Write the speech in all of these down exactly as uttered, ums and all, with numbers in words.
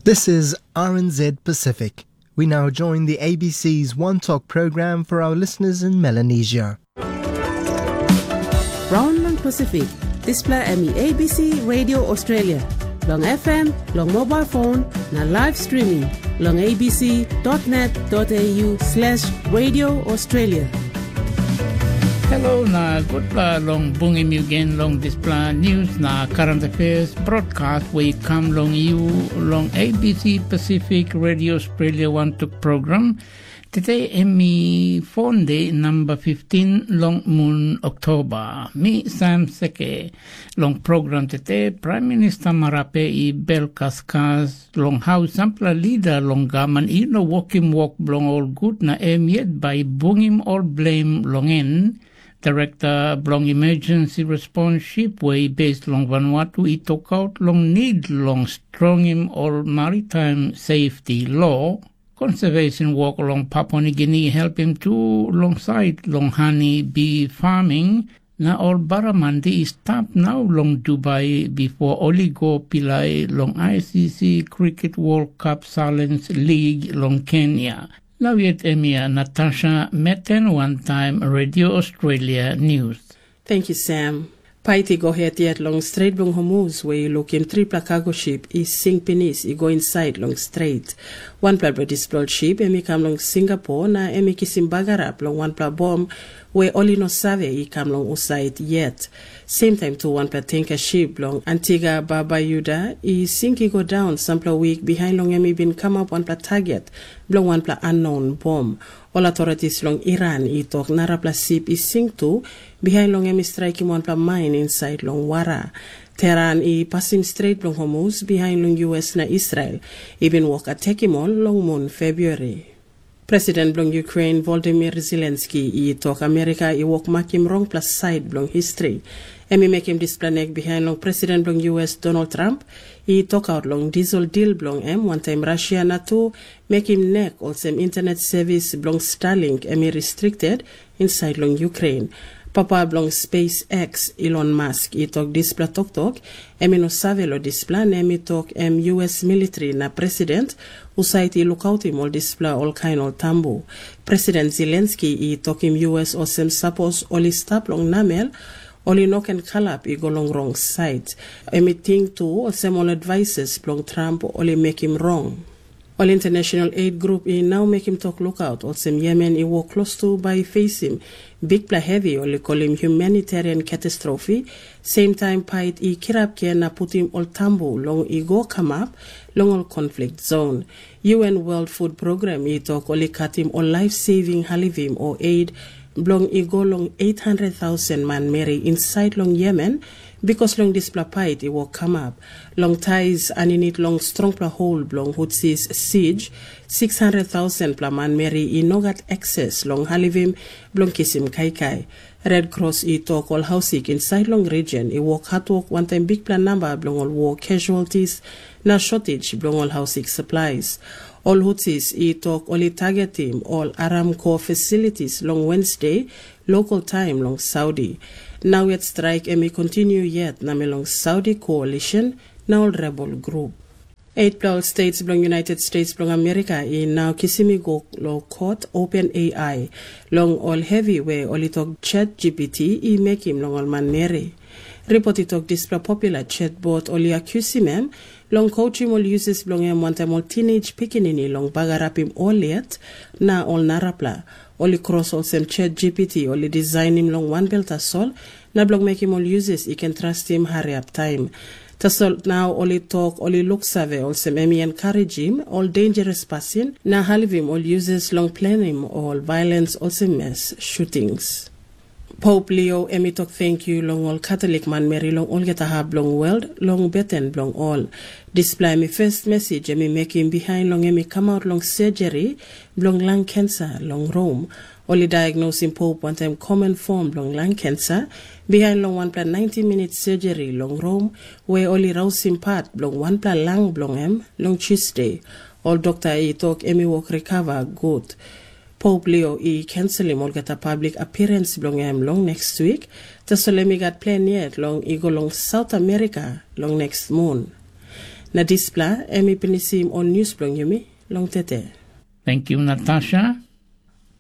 This is R N Z Pacific. We now join the A B C's One Talk program for our listeners in Melanesia. Raun long Pasifik, dispela em i A B C Radio Australia, long F M, long mobile phone, na live streaming, long A B C dot net dot A U slash Radio Australia. Hello na gutpela long bungim yu gen long dispela news na current affairs broadcast we i kam long yu long A B C Pacific Radio Australia One Tuk program. Today em i Fonde number fifteen long mun Oktoba. Mi Sam Seke. Long program today, Prime Minister Marape i bel kaskas long hau sampela lida long gaman i no wokim wok bilong ol gut na em yet bai i bungim ol blem long en. Direkta bilong Emergency Response Ship we i base long Vanuatu i tokaut long nid long strongim ol maritime safety law. Konservesen wok long Papua Nigini i helpim tu long sait long hani bi farming, na ol baramandi i stap nau long Dubai bipo ol i go pilai long I C C Cricket World Cup Challenge League long Kenya. Nau yet em ia Natasha Meten wantaim Radio Australia News. Thank you, Sam. Pait i go het yet long stret bilong Hormuz we i lukim tripela kago ship i sing pinis i go insait long stret. Wanpela bilong dispela ol ship em i kam long Singapore na em i kisim bagarap long wanpela bom we ol i no save i kam long husait yet. Semtaim tu wanpela tenka ship bilong Antiga Barbuda i sink i go daun sampela wik bihain long em i bin kamap wanpela target bilong wanpela anon bom. Ol authorities long Iran i tok narapela sip i sink tu bihain long em i straikim wanpela main insait long wara. Teheran i pasim Stret bilong Hormuz bihain long U S na Israel i bin wok atekim ol long mun Februari. President bilong Ukraine Volodymyr Zelensky i tok Amerika i wok makim rongpela sait bilong histri. Em i mekim dispela nek bihain long President bilong U S Donald Trump i tokaut long dispela dil bilong em wantaim Russia na tu mekim nek olsem internet sevis bilong Starlink em i restricted insait long Ukraine. Papa bilong SpaceX, Elon Musk, i tok dispela toktok, em i no save long dispela, na em i tok em U S military na president husat i lukautim ol dispela olkain ol tambu. President Zelensky i tokim U S olsem sapos ol i stap long namel, ol i no ken kalap i go long rong sait. Em i ting tu olsem ol advises bilong Trump ol i mekim rong. Ol International Aid Group i nau mekim tok lukaut olsem Yemen i wok klostu bai i fesim bikpela hevi ol i kolim humanitarian katastrofi, semtaim pait i kirap gen na putim ol tambu long i go kamap long ol konflikt zon. U N World Food Program i tok ol i katim ol laif seving halivim o aid bilong i go long eight hundred thousand manmeri insait long Yemen, bikos long dispela pait i wok kamap. Long Taiz aninit long strongpela hol bilong Hutsis siege, six hundred thousand pela manmeri i no gat akses long halivim bilong kisim kaikai. Red Cross i tok ol hausik insait long region i wok hatwok wantaim bikpela namba bilong ol war casualties na shortage bilong ol hausik supplies. Ol Hutsis i tok ol i targetim ol Aramco facilities long Wednesday, local time long Saudi. Nau yet straik em i kontinu yet na me long Saudi coalition na ol rebel grup. Eitpela ol states bilong United States bilong Amerika i nau kisim i go long kot Open A I long ol hevi we ol i tok Chat G P T i mekim long ol manmeri. Ripot i tok dispela popular chatbot ol i akusim em long kotim ol uses bilong em wantaim ol teenage pikinini long bagarapim ol yet na ol narapela. Ol i kros olsem Chat G P T ol i disainim long wanbel tasol, na bilong mekim ol uses i ken trastim hariap taim. Tasol nau ol i tok ol i luksave olsem em i enkarijim ol dangeres pasin na halivim ol uses long plenim ol violens olsem mes shutings. Pope Leo em i tok tenkyu long ol Katolik manmeri long olgeta hap bilong world long beten bilong ol. Dispela em i first message em i mekim bihain long em i kamap long surgery bilong lung cancer long Rome. Ol i diagnosim Pope wantaim common form bilong lung cancer bihain long wanpela ninety minute surgery long Rome, we ol i rausim pat bilong wanpela lung bilong em long Tuesday. Ol dokta i tok em i wok recover gut. Pope Leo i kenselim olgeta public appearance bilong em long next week, tasol em i gat plan yet long i go long South America long next mun. Na dispela em i pinisim ol nius bilong yumi long tete. Tenkyu, Natasha.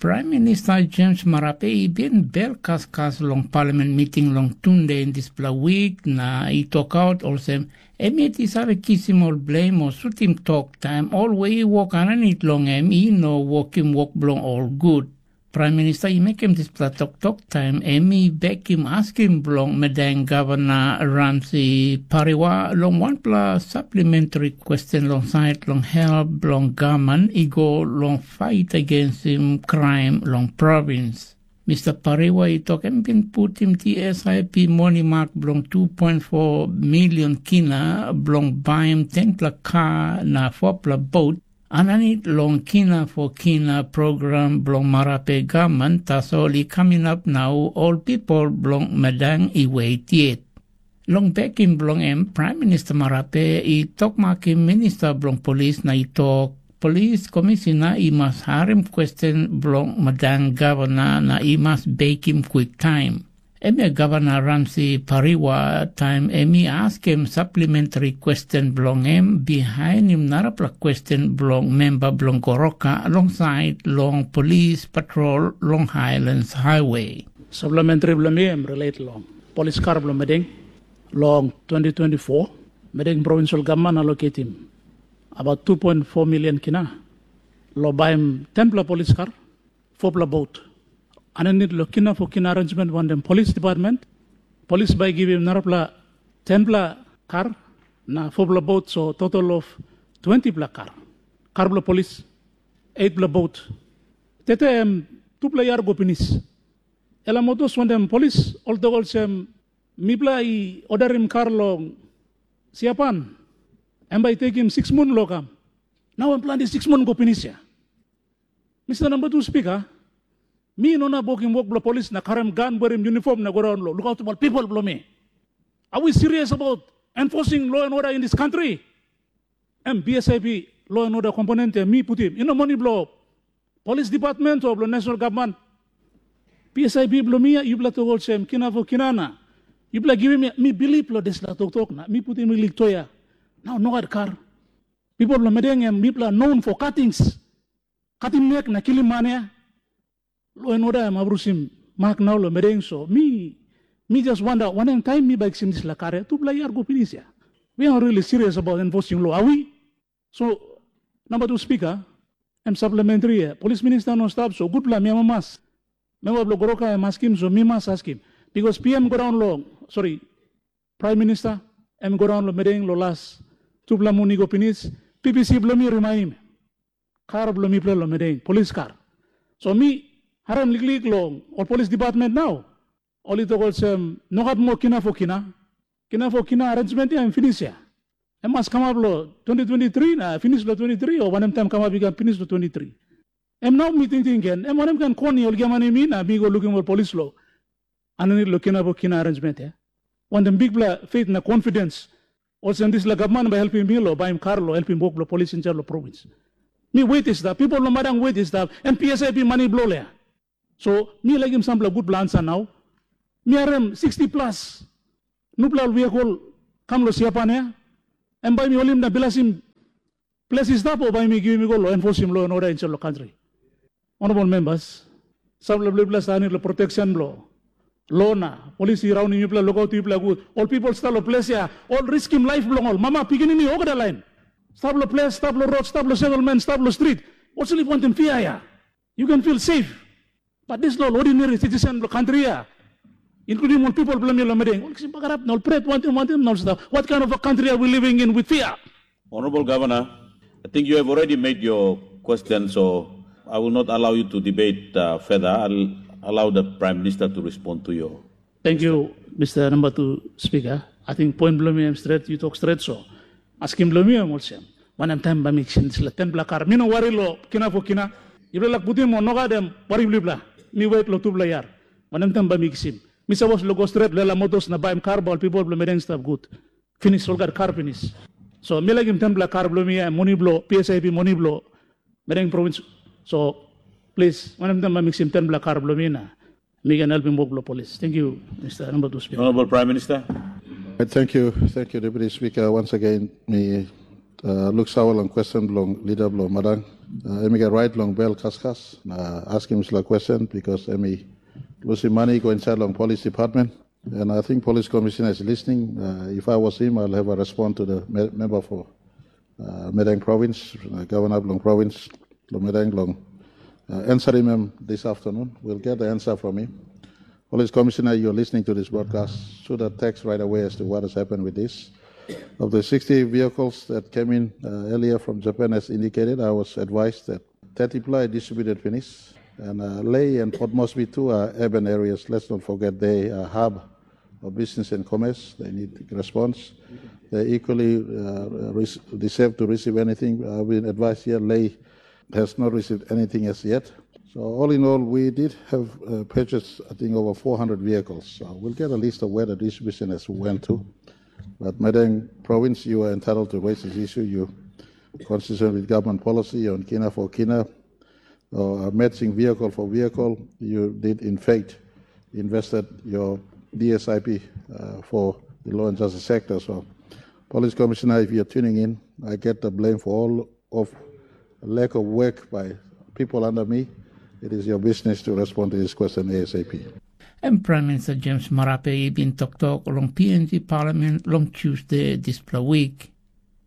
Pram Minista Jems Marape i bin bel kaskas long paliament miting long tunde dispela wik na i tokaut olsem, em yet i save kisim ol blem o sutim tok taim ol we i wok aninit long em i no wokim wok bilong ol gut. Pram Minista i mekim dispela toktok taim em i bekim askim bilong Madang Gavana Ramsi Pariwa long wanpela saplimentari kwesten long sait long help bilong gavman i go long fait agensim kraim long provins. Mista Pariwa i tok em bin putim T S I P moni mak bilong two point four million kina bilong baim tenpela kar na fopela bot aninit long kina for kina program bilong Marape gavman, tasol i kam inap nau ol pipel bilong Madang i wet yet. Long bekim bilong em, Pram Minista Marape i tokmakim minista bilong polis na i tok, polis komisina i mas harim kwesten bilong Madang gavana na i mas bekim kwiktaim. Em ya Gavana Ramsi Pariwa taim em i askim saplimentari kwesten bilong em bihainim narapela kwesten bilong memba bilong Goroka long sait long polis patrol long Highlands Highway. Saplimentari bilong mi em relate long polis kar bilong Madang. Long twenty twenty-four, Madang Provincial Gavman allocatim about two point four million kina long baim tenpela polis kar, fopela bot. Aninit long kina for kina arrangement wantaim polis department, polis bai givim narapela tenpela kar na fopela bot, so total of twentipela kar. Kar bilong polis, eightpela bot. Tete em tupela yar go pinis. Ela motos wantaim polis ol tok olsem, mipela i odarim kar long Siapan, em bai i tekim siks mun long kam. Nau em planti siks mun go pinis ya. Mista namba tu spika, mi no inap wokim wok bilong polis na karim gan werim yunifom na go raun long lukautim ol pipel bilong mi. Are we serious about enforcing law and order in this country? Em B S I P law and order komponent em mi putim, i no moni bilong polis department o bilong national gavman. B S I P bilong mi, yupela tok olsem, kina fo kina na yupela givim mi bilip long dispela toktok na mi putim liklik toia. Nau nogat kar. Pipel bilong Madang em mipela known for katings. Katim nek na kilim man ya. Lo en oda em abrusim mak nau long Madang, so mi mi just wanda wanem taim mi bai kisim dispela kar ya, tupela yar go pinis ya. We are really serious about enforcing law, are we? So, namba tu spika, em supplementary ya, polis minista no stap, so gutpela mi amamas. Memba bilong Goroka em askim, so mi mas askim. Bikos P M go daun long, sori, Praim Minista, em go daun long Madang long las tupela mun i go pinis, P P C bilong mi rimaim kar bilong mipela long Madang, polis kar. So mi harim liklik long ol polis department nau, ol i tok olsem, nogat moa kina fo kina. Kina fo kina arrangement ya em pinis ya. Em mas kamap long twenty twenty-three na pinis long twenty-three, o wanem taim kamap i kam pinis long twenty-three. Em nau mi tingting gen, em wanem kain kon ol giamanim mi na mi go lukim ol polis lo aninit long kina fo kina arrangement ya. Wantaim bikpela faith na confidence, olsem dispela gavman bai helpim mi long baim kar long helpim wok bilong polis insait long provins. Mi wet i stap, pipel long madang wet i stap, em P S I P mani bilong ya. So mi laikim sampela gutpela ansa nau. Mi harim sixty plus nupela ol wia kam long siapan ya, em bai mi holim na bilasim ples i stap, o bai mi givim i go long enforsim lo en oda insait long kantri. Honorable members, sampela bilipela sanit long protection bilong lo na polis i raunim yupela, lukautim yupela gut. Ol pipel stap long ples ya, ol riskim laip bilong ol, mama, pikinini, olgeta lain. Stap long ples, stap long rot, stap long settlement, stap long street. Olsem i wantaim fia ya. You can feel safe. But dispela ol ordinary citizen bilong kantri ya, including ol pipel bilong mi long Madang, ol kisim bagarap na ol pret wantaim wantaim na ol stap. What kind of a country are we living in with fear? Honorable Governor, I think you have already made your question, so I will not allow you to debate uh, further. I'll allow the Prime Minister to respond to your Thank you, Mister Number Two Speaker. I think point bilong mi em stret, you talk stret, so askim bilong mi em olsem, wanem taim bai mi kisim dispela tenpela kar? Mi no wari lo kina fo kina. Yupela lak putim o nogat em wari bilipela. Mi wet lo tupela yar. Wanem taim bai mi kisim? Mi sapos lo go stret lo ela motos na baim kar bai ol pipel bilong Madang stap gut. Pinis, ol gat kar pinis. So mi laikim tenpela kar bilong mi, em moni bilong P S I P, moni bilong Madang provins. So plis, wanem taim bai mi kisim tenpela kar bilong mi na mi ken helpim wok bilong polis? Thank you, Mister Number Two Speaker. Honorable Prime Minister. Thank you, thank you, Deputy Speaker. Once again, mi Uh, luk sawa long question bilong leader bilong Madang. Uh, em i gat right long bel kaskas na askim sila question because em i lusim money go inside long police department. And I think police commissioner is listening. Uh, if I was him, I'll have a response to the me- member for uh, Medang province, uh, governor bilong province, long Medang long uh, answering him this afternoon. We'll get the answer from him. Police commissioner, you're listening to this broadcast. Shoot a text right away as to what has happened with this. Of the sixty vehicles that came in uh, earlier from Japan, as indicated, I was advised that thirty ply distributed finish. And uh, Lei and Port Moresby too are urban areas. Let's not forget they are hub of business and commerce. They need response. They equally uh, re- deserve to receive anything. I've been advised here, Lei has not received anything as yet. So all in all, we did have uh, purchased, I think, over four hundred vehicles. So we'll get a list of where the distribution has went to. But Madang province, you are entitled to raise this issue. You consistent with government policy on kina for kina, or a matching vehicle for vehicle, you did in fact invested your D S I P uh, for the law and justice sector. So, Police Commissioner, if you're tuning in, I get the blame for all of lack of work by people under me. It is your business to respond to this question A S A P. Em Prime Minister James Marape i bin toktok long P N G Parliament long Tuesday dispela week.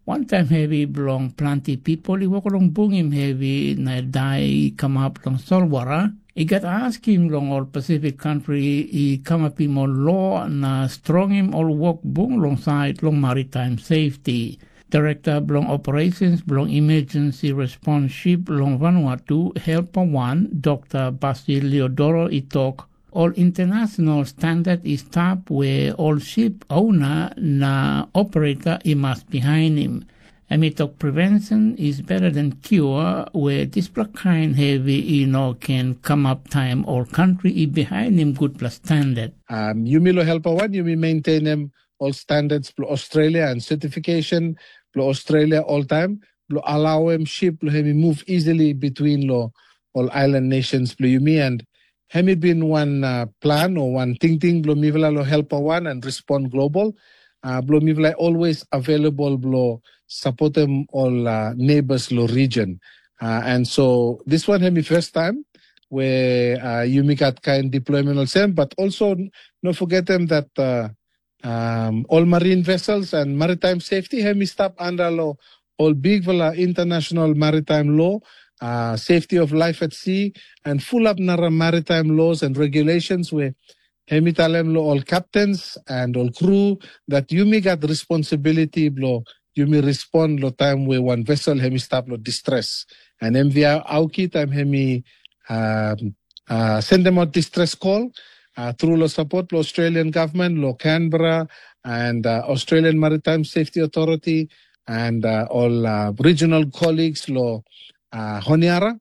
Wantaim hevi bilong planti pipel i wok long bungim hevi na dai i kamap long solwara, i gat askim long ol Pasifik kantri i kamapim ol lo na strongim ol wok bung long sait long maritime safety. Direkta bilong Operations bilong Emergency Response Ship long Vanuatu, Helper wan, Dr. Basil Leodoro i tok, ol international standard i stap we ol ship owner na operator i mas bihainim. Em i tok prevention is better than cure, we dispela kain hevi i no ken kamap taim ol kantri i bihainim gutpela standard. Um, yumi lo helper wan, yumi maintainim ol standards bilong Australia and certification bilong Australia oltaim, bilong alauim ship bilong em i move easily between lo ol island nations bilong yumi, and em i bin wan uh, plan o wan tingting bilong mipela lo helper wan and respond global. Uh, bilong mipela always available bilong supportim ol uh, neighbors lo region. Uh, and so this one em i first time where uh, yumi gat kain deployment olsem, but also no forgetem that uh, um, ol marine vessels and maritime safety em i stap under lo ol bigfala international maritime law, uh, safety of life at sea, and fulap nara maritime laws and regulations where em i talem lo ol captains and ol crew that yumi gat responsibility blo yumi respond lo taim we wan vessel em i stap lo distress. And M V R Auki taim em i um, uh, send them out distress call uh, through lo support lo Australian government, lo Canberra, and uh, Australian Maritime Safety Authority, and uh, all uh, regional colleagues lo uh, Honiara,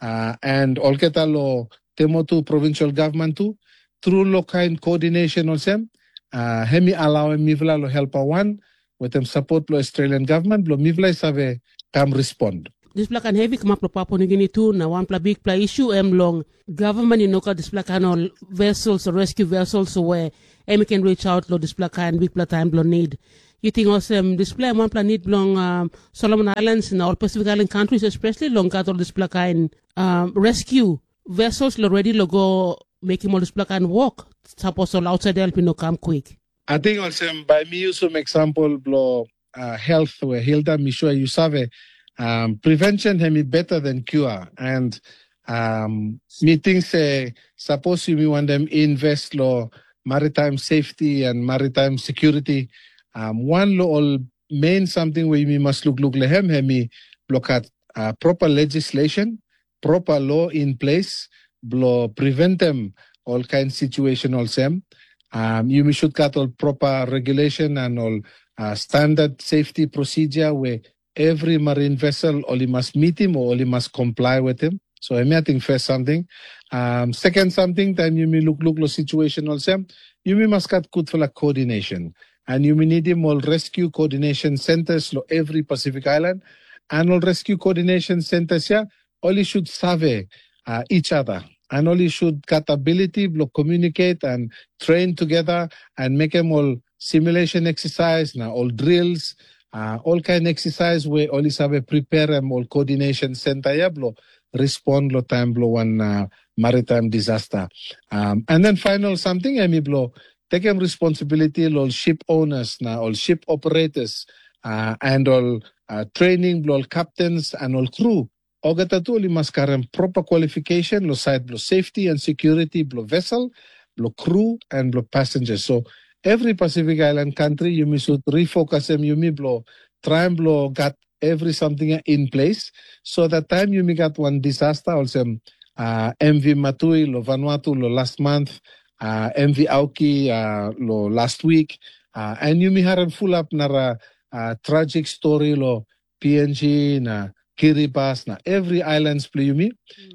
uh, and olgeta lo Temotu provincial government tu, through lo kain coordination olsem, uh, em i alauim mipela lo help awan, wetem support lo Australian government, blo mipela i save kam respond. Dispela kain hevi kamap long Papua Nugini tu, na wanpela bikpela isu em long gavman i no gat dispela kain ol vessels, rescue vessels, we em i ken reach out long dispela kain bikpela taim bilong nid. Yu ting olsem dispela em wanpela nid bilong um, Solomon Islands na ol Pacific Island countries, especially long gat ol dispela kain um, rescue vessels lo ready lo go mekim ol dispela kain wok, sapos ol outside help i no kam kwik. Ating olsem bai mi usum example blo uh, health we Hilda mi sure you save, um, prevention hemi better than cure. And um, mi think se suppose yumi want them invest lo maritime safety and maritime security, um, one lo all main something we yumi must look look lehem hemi look at uh, proper legislation, proper law in place blo preventem ol kain situation olsem. Um, yumi should gat ol proper regulation and ol uh, standard safety procedure where every marine vessel oli must meet him or oli must comply with him. So him I think first something. Um, second something, time yumi look look lo situation olsem, yumi must gat good for coordination. And yumi need him all rescue coordination centers lo every Pacific Island. And all rescue coordination centers here, only should survey uh, each other. And only should got ability to communicate and train together and make them all simulation exercise, now all drills, uh, olkain exercise we ol i save prepareim ol coordination center ya bilong respond lo taim bilong wan uh, maritime disaster. Um, and then final something em i bilong tekem responsibility lo ol ship owners na ol ship operators uh, and ol uh, training bilong ol captains and ol crew. Olgeta tu ol i mas karim proper qualification lo side bilong safety and security bilong vessel, bilong crew and bilong passengers. So every Pacific Island country yumi should refocusim yumi bilong traim bilong gat every something in place, so that time yumi gat one disaster olsem uh, M V Matui lo Vanuatu lo last month, uh, M V Auki uh, lo last week, uh, and yumi harim fulap nara uh, tragic story lo P N G na Kiribati na every islands bilong yumi.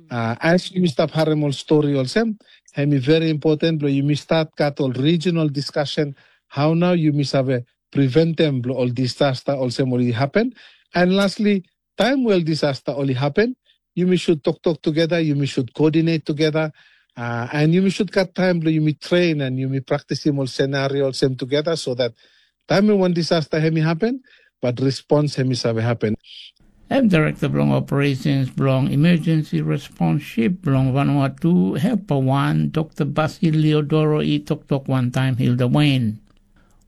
Uh, as yumi stap harim ol story olsem, hem i very important bilong yumi start gat ol regional discussion how now yumi save preventem bilong ol disaster olsem ol i happen. And lastly, time well disaster ol i happen, yumi should toktok together, yumi should coordinate together, uh, and yumi should gat time bilong yumi train and yumi practiceim ol scenario olsem together so that time when one disaster hem i happen, but response hem i save happen. Em Direkta bilong Operations bilong Emergency Response Ship bilong Vanuatu, Helper wan, Dokta Basilio Doro i toktok wantaim Hilda Wain.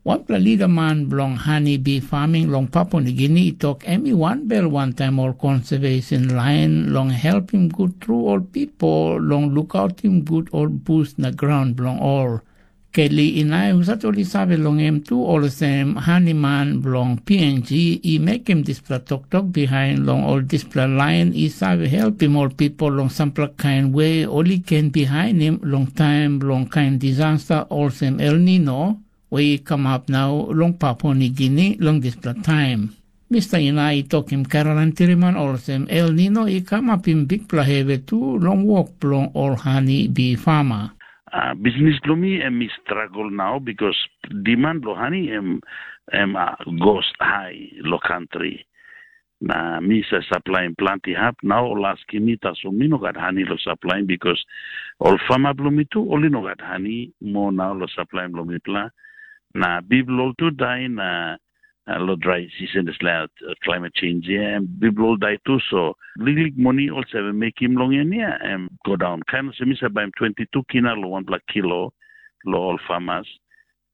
Wanpela lidaman bilong hani bi farming long Papua Nigini i tok em i wanbel wantaim ol konservesen lain long helpim gut tru ol bipo long lukautim gut ol bus na graun bilong ol. Keli i nai husat ol i save long em tu olsem haniman bilong P N G i mekim dispela toktok bihain long ol dispela lain i save helpim ol bipo long sampela kain we ol i ken bihainim long taim bilong kain disaster olsem El Nino we i kamap nau long Papua Nigini long dispela taim. Mista Ina i tokim Caroline Tiriman olsem El Nino i kamapim bikpela hevi tu long wok bilong ol hani bi fama. Uh, bisnis bilong mi em i struggle nau because demand bilong hani em em uh, goes high lo country. Na mi sa supplyim planti hap nau ol askim mi tasol mi no gat hani lo supplyim because ol fama bilong mi tu ol i no gat hani mo nau lo supplyim long mipela. Na bibel ol tu dai na uh, lo dry season dispela uh, climate change ya em bibel ol dai tu so liklik moni ol save mekim long en ya em go daun kain olsem mi save baim twenty two kina lo wanpela kilo lo ol farmers.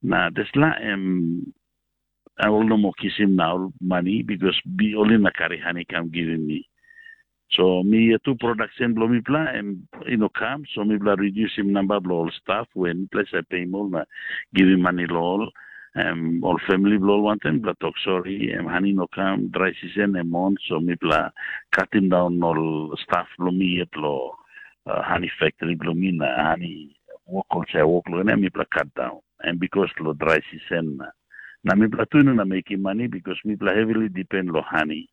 Na dispela em ol no mo kisim na ol mani because bi ol i na kari hani kam givim mi. So mi yet tu production bilong mipela em i no kam, so mipela redusim namba bilong ol staf we mipela i save peim ol na givim mani long ol. Em ol famili bilong ol wantaim mipela tok sori, em hani no kam, drai sisen em on, so mipela katim daun ol staf bilong mi yet long uh, hani factory bilong mi na hani wok olsem wok long em mipela kat daun. Em bikos long drai sisen na na mipela tu i no na mekim mani bikos mipela heavily depend long hani.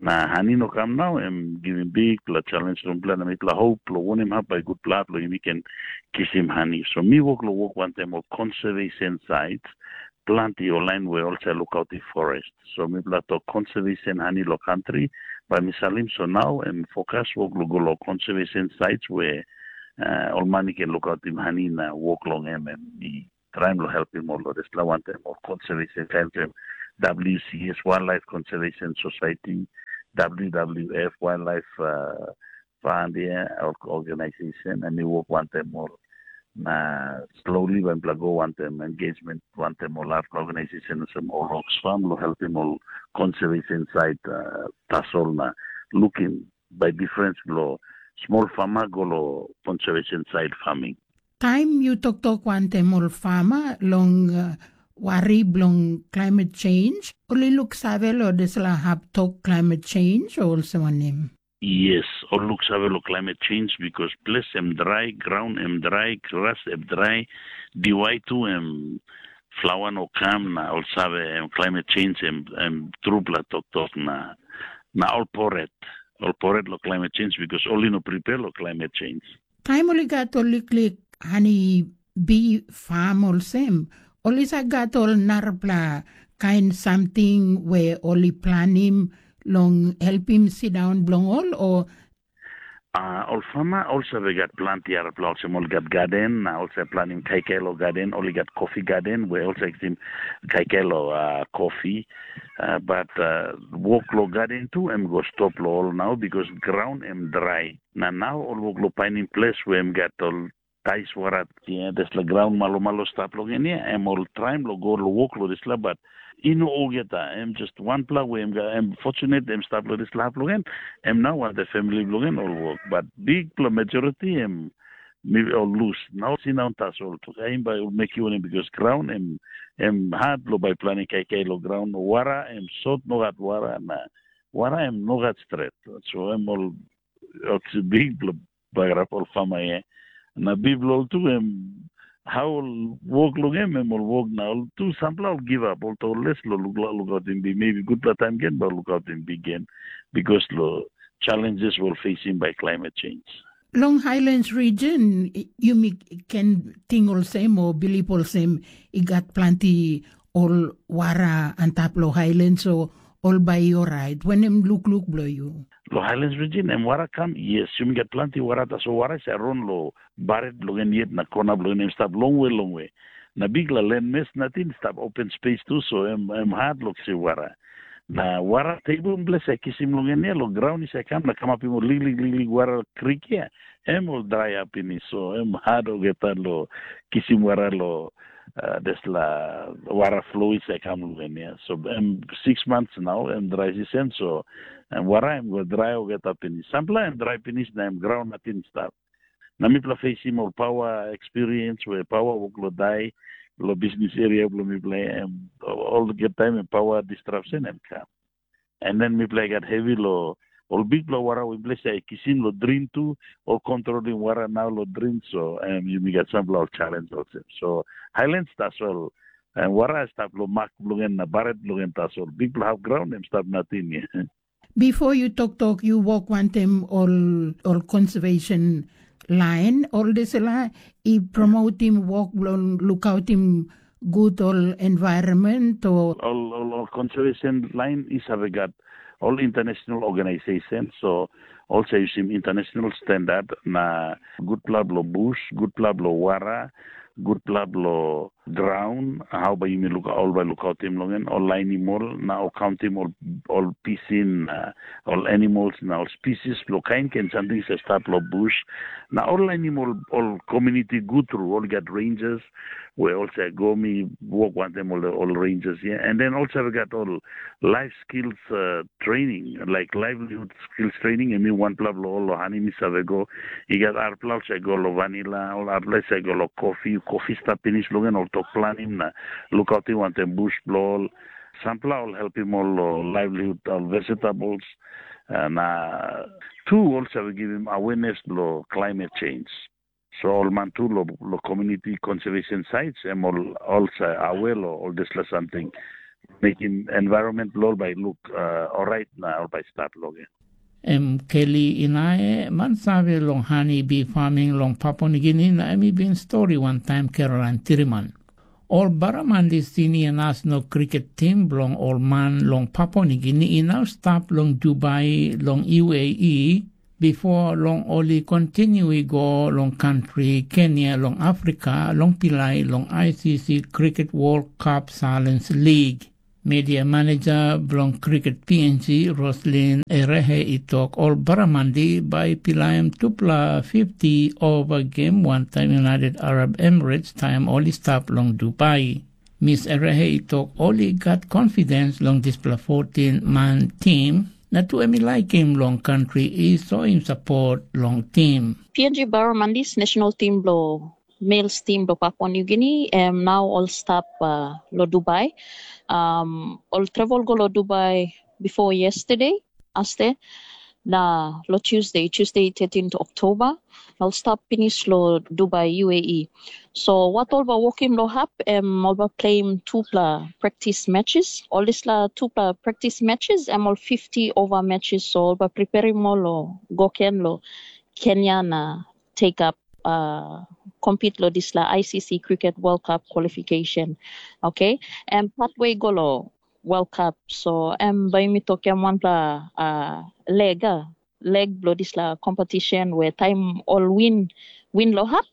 Na hani no kam nau em givim bikpela challenge long mipela na mipela hope long wonim hap bai gutpela hap long yumi ken kisim hani. So mi wok long wok wantaim ol conservation sites planti ol lain we ol save lukautim forest. So mipela tok conservation hani long country bai mi salim so nau em fokus wok long go long conservation sites we uh, ol man i ken lukautim hani na wok long em em i traim long helpim ol long dispela wantaim ol conservation kain olsem W C S Wildlife Conservation Society, W W F Wildlife uh, Fund ya, organization em i wok wantaim ol na slowly bai mipela go wantaim engagement wantaim ol arapela organization olsem ol Oxfam long helpim ol conservation site uh, tasol na lukim bai difference bilong small farmer go long conservation side farming. Taim yu toktok wantaim ol farmer long uh, wari bilong climate change, ol i luksave long dispela hap tok climate change o olsem wanem? Yes, ol luksave long climate change because ples em drai, graun em drai, gras em drai, diwai tu em flawa no kam na ol save em climate change em em trupela toktok na na ol poret ol poret long climate change because ol i no prepare long climate change. Taim ol i gat ol liklik hani bi fam olsem, ol i save gat ol narapela kain samting we ol i planim long helpim sindaun bilong ol, o? Uh, ol fama ol save gat planti arapela olsem ol gat gaden na ol save planim kaikai lo gaden, ol i gat kofi gaden we ol save kisim kaikai lo uh, kofi. Uh, but uh, wok lo gaden tu em go stop lo ol nau, because graun em drai. Na nau ol wok lo painim ples we em gat ol tais wara, yeah, dispela graun malomalo stap long en ya, em ol traim lo go lo wok lo dispela, but i no olgeta, em just wanpela we em, em fortunate em stap lo dispela hap long en, em nau wantaim famili bilong en ol wok, but bikpela majoriti em mi ol lus. Nau sinaun tasol tu em bai ol mekim wanem, because graun em em hat lo bai planim kaikai lo graun, wara em sot, nogat wara na wara em nogat stret. So em ol oksi bikpela bagarap ol fama ya. Na bikpela ol tu em hau ol wok long em, em ol wok na ol tu sampela ol givap, ol to les lo lukautim bik, maybe gutpela taim gen ba lukautim bik gen, because lo challenges will facing by climate change. Long Highlands region, yumi ken ting olsem o bilip olsem i gat planti ol wara antap lo Highlands, so ol bai i orait. Wanem lukluk bilong yu? Lo Highlands region em wara kam, yes, yumi gat planti wara, tasol wara i sa ron lo baret bilong en yet na kona bilong en em stap longwe longwe. Na bikpela len mes nating stap open space tu, so em em hat lo kisim wara. Na wara tebel ples e kisim long en ya, lo graun i sa kam na kamapim ol liklik liklik wara krik ya, em ol drai ap pinis, so em hat olgeta lo kisim wara lo uh, dispela wara flo i sa kam long en ya. So em six months nau em drai season, so em wara em go drai olgeta pinis. Sampela em drai pinis na em graun nating stap. Na mipela facing ol power experience we power wok lo dai, lo business area bilong mipela em olgeta taim em power disruption em kam. And then mipela i gat hevi lo ol bikpela wara we mipela i kisim lo drin tu, ol kontrolim wara nau lo drin, so em yumi gat sampela ol challenge olsem. So Highlands tasol em wara i stap lo mak bilong en na baret bilong en tasol. Bikpela hap graun em stap nating ya. Bipo yu toktok yu wok wantaim ol ol conservation lain, ol dispela i promotim wok bilong lukautim gut ol environment o ol ol ol conservation lain i save gat ol international organization, so ol sa yusim international standard na gutpela bilong bus, gutpela bilong wara, gutpela bilong graun, hau bai yumi luka ol bai lukautim long en, ol lainim ol na ol kauntim ol ol pisin na ol animals na ol species bilong kain kain samting sa stap long bus, na ol lainim ol ol community gut tru, ol gat rangers we ol sa go mi wok wantaim ol ol rangers ya, and then ol sa gat ol life skills uh, training, like livelihood skills training, em i wanpela bilong ol hani mi save go. I gat arpela ol sa go long vanila, ol arpela sa go long kofi, kofi stap pinis long en ol tok planim na lukautim wantaim bus bilong ol. Sampela ol helpim ol long livelihood, ol vegetables, na tu ol save givim awareness long climate change. So ol man tu long lo community conservation sites, em ol ol sa awe long ol dispela samting, mekim environment bilong ol bai luk uh, orait na ol bai stap long en. Em Keli Inae, man save long hani bi farming long Papua Nigini, na em i bin stori wantaim Caroline Tiriman. Ol Baramandi Senior National Cricket Team bilong ol man long Papua Nigini i nau stap long Dubai long U A E, bipo long ol i kontinu i go long kantri Kenya long Afrika long pilai long I C C Cricket World Cup Challenge League. Media maneja bilong kriket P N G, Roslin Erehe, i tok ol Baramandi bai i pilaim tupela fifty ova gem wantaim United Arab Emirates taim ol i stap long Dubai. Mis Erehe i tok ol i gat confidence long dispela fourteen man tim, na tu em i laikim long kantri i soim sapot long tim. P N G Barramandis national team bilong males team bilong Papua New Guinea, em nau ol stap uh, lo Dubai. Um, ol travel go lo Dubai before yesterday, aste, na lo Tuesday, Tuesday thirteenth October, ol stap pinis lo Dubai, U A E. So wat ol ba wokim lo hap, em ol ba playim tupela practice matches. Ol dispela tupela practice matches, em ol fifty over matches. So ol ba preparim ol lo go ken lo Kenya na take up uh, compete lo dispela I C C Cricket World Cup qualification. Okay, em pathway go lo World Cup. So em bai mi tokim wanpela uh, leg uh, leg bilong dispela competition, we taim ol win, win long hap,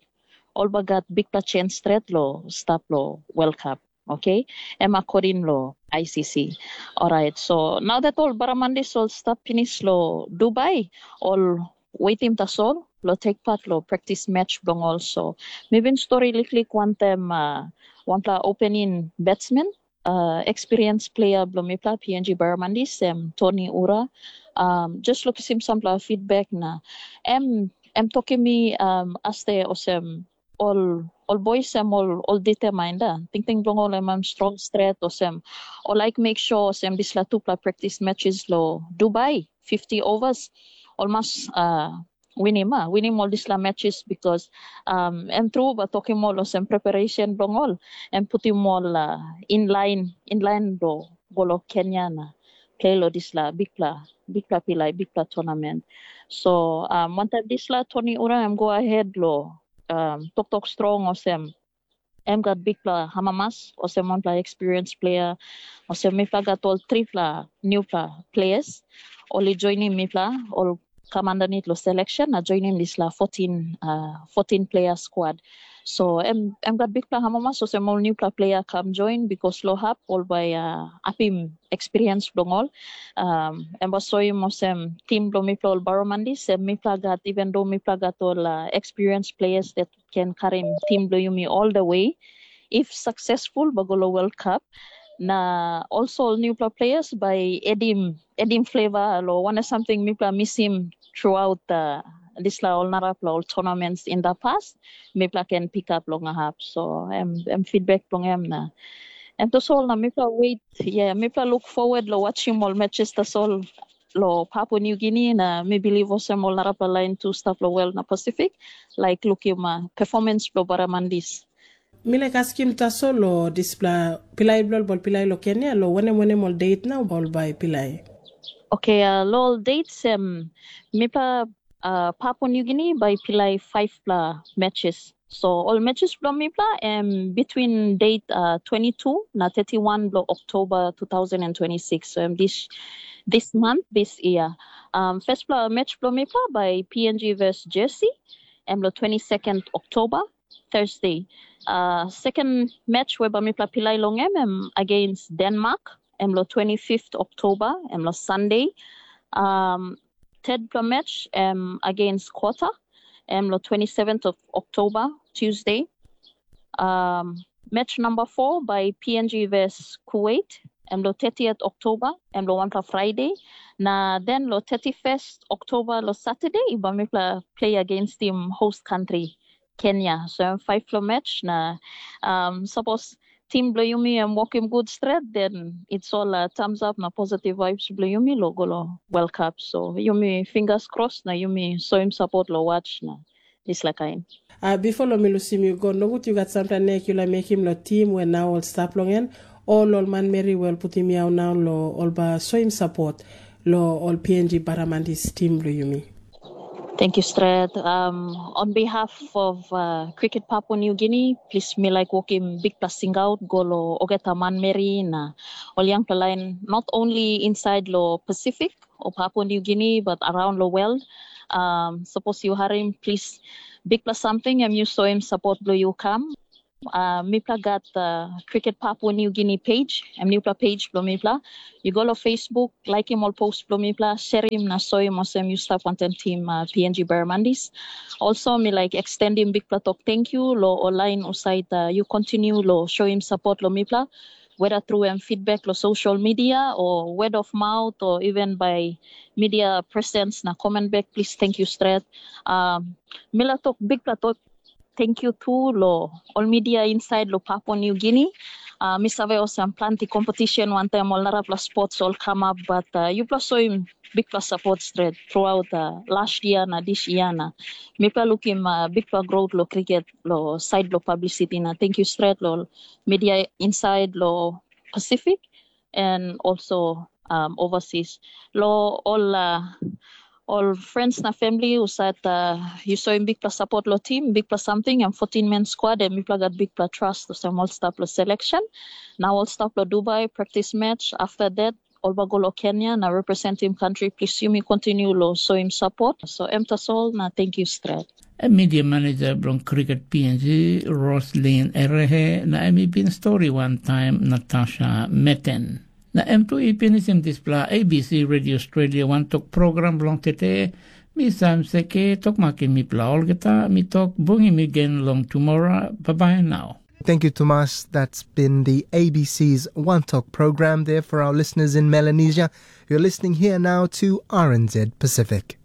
ol bai gat bikpela chance stret long stap long World Cup. Okay, em akoting long I C C. Alright, so nau dat ol baramandis ol stap pinis long Dubai, ol wetim tasol long take part long practice match bilong ol. So mi bin stori liklik wantaim uh, wanpela opening batsman, uh, experience player bilong mipela P N G Baramandis, em Tony Ura. Um, just lukisim sampela feedback na em em tokim mi um, aste olsem ol ol boys em ol ol determined da. Tingting bilong ol em em strong stret olsem ol like make sure olsem dispela tupela practice matches lo Dubai fifty overs ol mas uh, winim a winim ol dispela matches because um, em tru ba tokim ol olsem preparation bilong ol em putim ol uh, in line in line lo go lo Kenya na play lo dispela bikpela bikpela pilai bikpela tournament. So um, wantaim dispela Tony Ura em go ahead lo um, toktok strong olsem em gat bikpela amamas olsem wanpela experience player olsem mipela gat ol tripela newpela players ol i joinim mipela ol kam underneath lo selection na joinim dispela fourteen, uh, fourteen player squad. So em em gat bikpela amamas olsem ol newpela player kam join because lo hap ol bai uh, apim experience bilong ol. Um, em bai soim olsem tim bilong mipela ol Baromandis, em mipela gat even though mipela gat ol uh, experience players that can karim tim bilong yumi all the way. If successful, ba go lo World Cup. Na also ol newpela players by edim edim flavor lo wana something mipela misim throughout uh, dispela ol narapela ol tournaments in the past. Mipela can pick up long a hap. So em em feedback bilong em na em tasol na mipela wait. Yeah, mipela look forward lo watchim ol matches tasol lo Papua New Guinea na mi believe olsem ol narapela lain tu stap lo world na Pacific like lukim uh, performance bilong Baramandis. Mi laik askim tasol lo dispela pilai bilong ol pilai lo Kenya lo wanem wanem ol date na ol bai pilai. Okay, uh, lo ol dates em mipela uh, Papua New Guinea bai pilai fivepela matches. So ol matches bilong mipela em between date uh, twenty-two na thirty-one bilong October two thousand and twenty-six. So em this this month, this year. Um, firstpela match bilong mipela by P N G versus Jersey, em lo twenty-second October, Thursday. Uh, second match we ba mipela pilai long em, em against Denmark, em lo twenty-fifth October, em lo Sunday. Um, third pla match em against Qatar, em lo twenty-seventh of October, Tuesday. Um, match number four by P N G versus Kuwait, em lo thirtieth October, em lo wanpla Friday. Na then lo thirty-first October lo Saturday, ba mipla play against team host country, Kenya. So em five lo match na um, suppose team bilong yumi em wokim gut stret, then it's all uh, thumbs up na positive vibes bilong yumi lo go lo World Cup. So yumi fingers crossed na yumi soim support lo watch na dispela kain. Uh, before lo mi lusim yu go, nogut yu gat sampela nek yu laik mekim lo tim we nau ol stap long en, ol ol manmeri we ol putim yau nau lo ol ba soim sapot lo ol P N G Baramandis tim lo yumi. Thank you stret. Um, on behalf of uh, Cricket Papua New Guinea, please mi like wokim big passing out go lo ogeta manmeri na ol young line, not only inside lo Pacific or Papua New Guinea, but around the world. Um, suppose you harim, please big plus something and you saw him support lo you come. Uh, mipla gat uh, Cricket Papua New Guinea page, em newpela page bilong mipla. You go to Facebook, like him all post bilong mipla, share him na show him awesome you staff wanted team uh, P N G Barramandis. Also, me like extend him big platok thank you lo online usait uh, you continue lo show him support lo mipla. Whether through um, feedback lo social media or word of mouth or even by media presence na comment back, please thank you straight. Um, mila talk big platok thank you too lo all media inside lo Papua New Guinea. Uh, mi save olsem planti competition wantaim ol narapela sports ol come up, but uh, yupela soim big plus support straight throughout uh, last year na this year na. Mipela lukim uh, big plus growth lo cricket lo side lo publicity na thank you straight lo media inside lo Pacific and also um, overseas. Lo all uh, all friends na family usat uh, you saw him big plus support lo team, big plus something and fourteen men squad and mipla got big plus trust to some all staff lo selection. Now all staff lo Dubai practice match. After that, Ol bagolo Kenya na representim country, please yumi continue lo soim support. So em tasol na thank you stret. E media manager bilong cricket P N G, Roslyn Erehe, na em i bin stori wantaim Natasha Meten. Na em tu i pinisim dispela A B C Radio Australia wantok program bilong tete. Mi Sam Seke, tok makim mipela olgeta, mi tok bungim mi gen long tumora. Bye bye now. Thank you, Tomas. That's been the A B C's One Talk program there for our listeners in Melanesia. You're listening here now to R N Z Pacific.